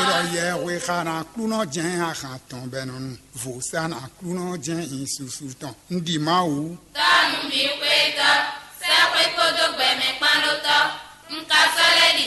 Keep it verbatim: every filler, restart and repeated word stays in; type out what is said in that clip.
Ɖɔ yɛhwe xa na Aklúnɔ jɛ́n ahan tɔn bɔ è nɔ nu. Vǒ sá na Aklúnɔ jɛ́n nyi susu tɔn. Un ɖi Mawu. Tɔ́ nǔbíxwétɔ́, sɛ́xwé kpódó gbɛmɛ kpán ɖó tɔ́. Un ka sɔ́ lɛ́ ɖi